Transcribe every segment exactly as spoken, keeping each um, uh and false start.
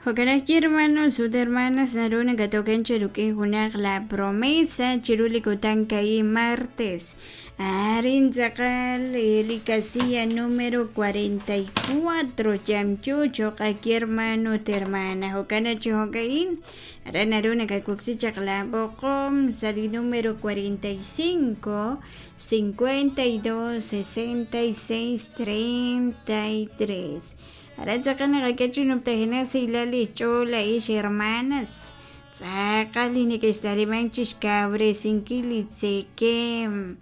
Jo'kan hermanos ut hermanas naru nakatoken chirukin junaq la promesa chiru li kutan ka'i martes arin tz'aqal li casilla número cuarenta y cuatro yamyu choq aki hermano ut hermana jo'kan chi jo'ka'in aran naru nakakuksi chaq la b'oqom sa li número cuarenta y cinco, cincuenta y dos, sesenta y seis, treinta y tres. Aran tz'aqal naqak'e nuptajena silal ch'ool ix hermanas tz'aqal li neke'xtaliman chixkawresinkil li tzekem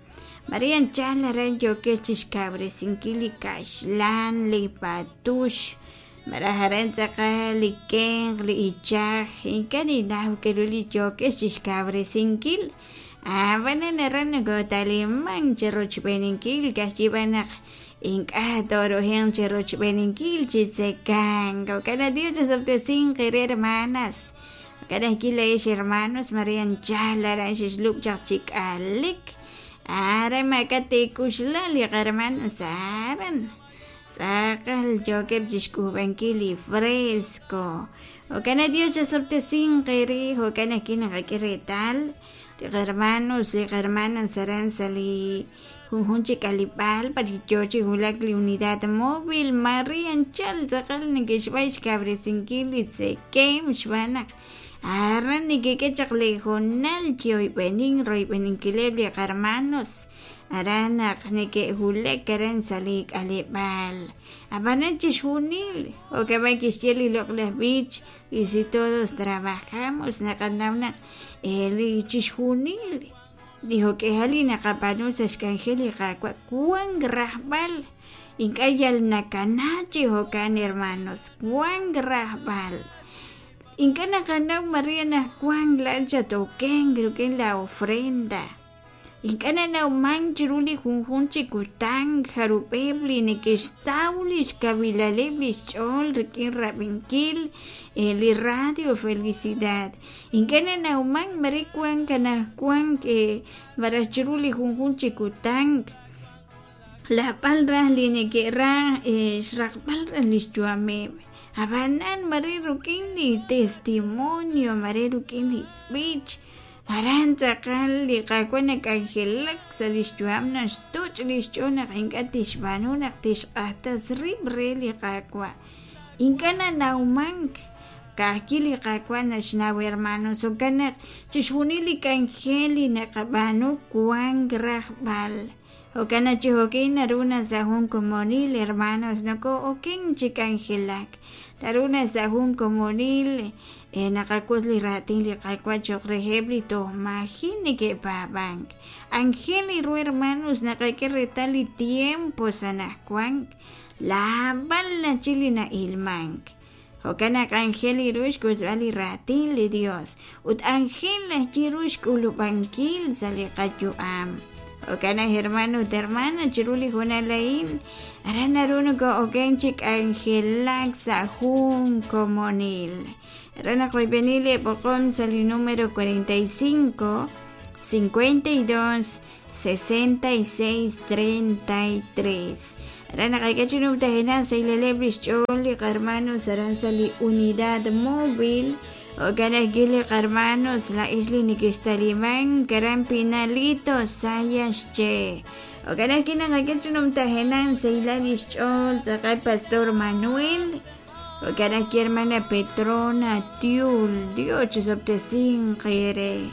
María anchal aran yokex chixkawresinkil li kaxlan li patux maraj aran tz'aqal li kenq li ichaj ink'a' ninaw k'aru li yokex chixkawresinkil ab'anan aran nakotaliman chirochb'eninkil kajyib'an naq ink'a' torojen chirochb'eninkil chitzekan jo'kan Dios chasab'tesin qere hermanas jo'kan ajk'i ix hermanos María anchal aran xixlub' chaq chik'alik aran mak'a tikuxla li hermanas aran tz'aqal yokeb' chixk'ub'ankil li fresco jo'kan Dios chasab'tesin qere jo'kan ajk'i naqak'e retal li hermanos li hermanas aran sa li junjun chik'alib'al pachicho hulak li unidad móvil María anchal tz'aqal neke'xb'ay xkawresinkil li tzekem xb'anaq aran nekek'e chaq li jonal chioyb'enin royb'eninkileb' li hermanos aran naq neke'hulak aran sa li k'aleb'al ab'anan chixjunil jo'kab'ay kixye li loq'laj b'ich y si todos trabajamos naqanaw naq li chixjunil li jo'k'ejal li naqab'anu sa xk'anjel li qaawa' wan rajb'al ink'a' yal nakana chi jo'kan hermanos wan rajb'al ink'a' naqanaw María naq wan la'an chatoken rik'in la ofrenda ink'a' nanawman chiru li junjun chi kutan jarub'eb' li neke'xtaw li xkawilaleb' li xch'ool rik'in rab'inkil li radio Felicidad ink'a' nanawman mare wan kanaj wan maraj chiru li junjun chi kutan lab'al raj li neke'raj xraqb'al raj li xyu'ameb' ab'anan mare rik'in li testimonio mare rik'in li b'ich aran tz'aqal li qaawa' nak'anjelak sa li xyu'am naxtoch' li xch'ool naq ink'a' tixb'aanu naq tixq'ajtas rib' re li qaawa' ink'a' nanawmank ka'ajki li qaawa' naxnaw hermanos jo'kan naq chixjunil li k'anjel li naqab'aanu wan rajb'al jo'kan naq chi jo'kin naru na sa jun komonil hermanos noko'oken chi k'anjelak naru na sa jun komonil naqak'ut li raatin li qaawa' choq reheb' li toj maji' neke'paab'ank anjel ru hermanos naqak'e reetal li tiempo sa anajwan laab'al nachi li na'ilmank jo'kan naq anjel ru xk'utb'al li raatin li Dios ut anjel ajwi' ru xk'ulub'ankil sa li qayu'am jo'kan naq hermano ut hermana chiru li junal a'in aran naru noko'oken chi k'anjelak sa' jun komonil aran naq oyb'eni li b'oqom sa li número cuarenta y cinco, cincuenta y dos, sesenta y seis, treinta y tres aran naqak'e chi numtajena sa ilaleb' li xch'ool li hermanos aran sa li unidad móvil jo'kan ajwi' li hermanos la ix li neke'xtaliman karan Pinalito Sayaxche jo'kan ajwi' naqak'e chi numtajena sa ilal li xch'ool tz'aqal Pastor Manuel jo'kan ajwi' hermana Petrona Tiul Dios chisab'tesin qere.